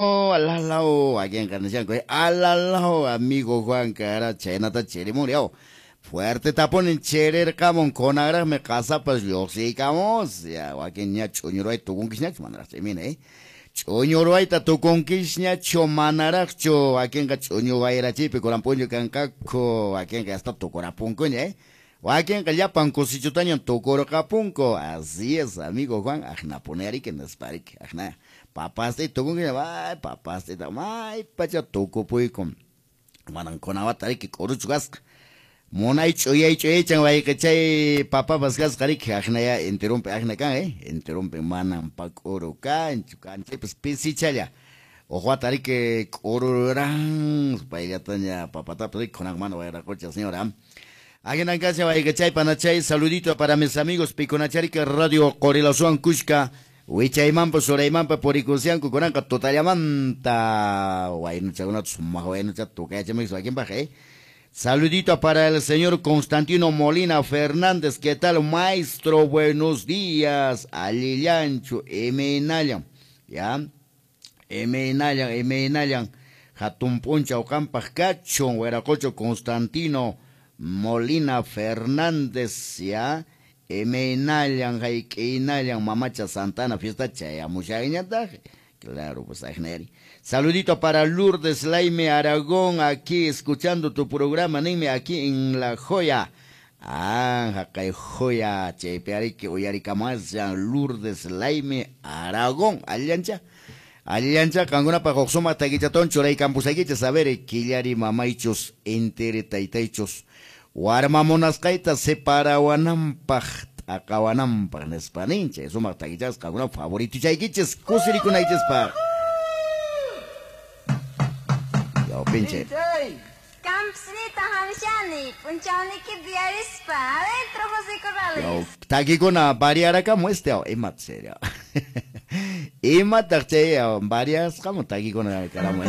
Alalao, wakinqa nishanku, alalao, amigo Juan cara chaynata chirimun yaw. Fuerte tapunin chirirqamun kunanraqmi qasapas lluqsiykamus. Ya wakin ña ch'uñuruwayta tukunkisñachu manaraqchu imina, Ch'uñuruwayta tukunkisñachu manaraqchu wakinqa ch'uñu wayrachiypi kunan p'unchaw kanqaku wakinqa hasta tukurapunkuña, Wakinqa llapan kusichutañan tukurqapunku. Así es, amigo Juan, aqnapuni ariki nispa ariki, aqna papastita tukunkiña, ay papastita may pacha tukupuyku. Manan kunawata ariki k'uruchu kasqa. Munay ch'uyay ch'uyaychan wayqichay papapas kasqa riki, aqnaya enterunpi aqna kan, enterunpi manan pa k'uru kanchu, kanchaypas pisichalla. Uq wata riki k'ururan payllataña papatapas riki kunan mana wayraqocha señora. Ahinan kashan wayqichay panachay, saludito para mis amigos pikunachariki Radio Qorilazuwan kushka wichaymanpas uraymanpas purikusianku kunanqa tutallamanta waynuchakunata sumaq waynuchata tukayachamuykus wakinpaq, Saludito para el señor Constantino Molina Fernández. ¿Qué tal, maestro? Buenos días. Allillanchu, imaynallan. Ya. Imaynallan, imaynallan. Hatun p'unchaw qampaq kachun, wiraqocho Constantino Molina Fernández. Ya. Imaynallan, hayk'iynallan, mamacha Santana fiesta chayamushanñataq. Claro, pues ajnari. Saludito para Lourdes Laime Aragón, aquí escuchando tu programa, ninmi, aquí en La Joya. Ah, haqay Joya, chaypi ariki uyarikamashan Lourdes Laime Aragón. Allancha. Allancha, qankunapaq huk sumaq takichatawan churaykampusaykichis, a ver, killari mamaychus, intiri taytaychus, warma munasqayta separawananpaq, t'aqawananpaq nispa nin, chay sumaq takichasqa qankuna favoritochaykichis kusirikunaychispaq. Yaw pinche. Campsinita hamshani, p'unchawniki diarispa, adentro José Corrales. Yaw, takikuna variarakamu este, imat serio. Imataq chay variasqamu takikuna karamu,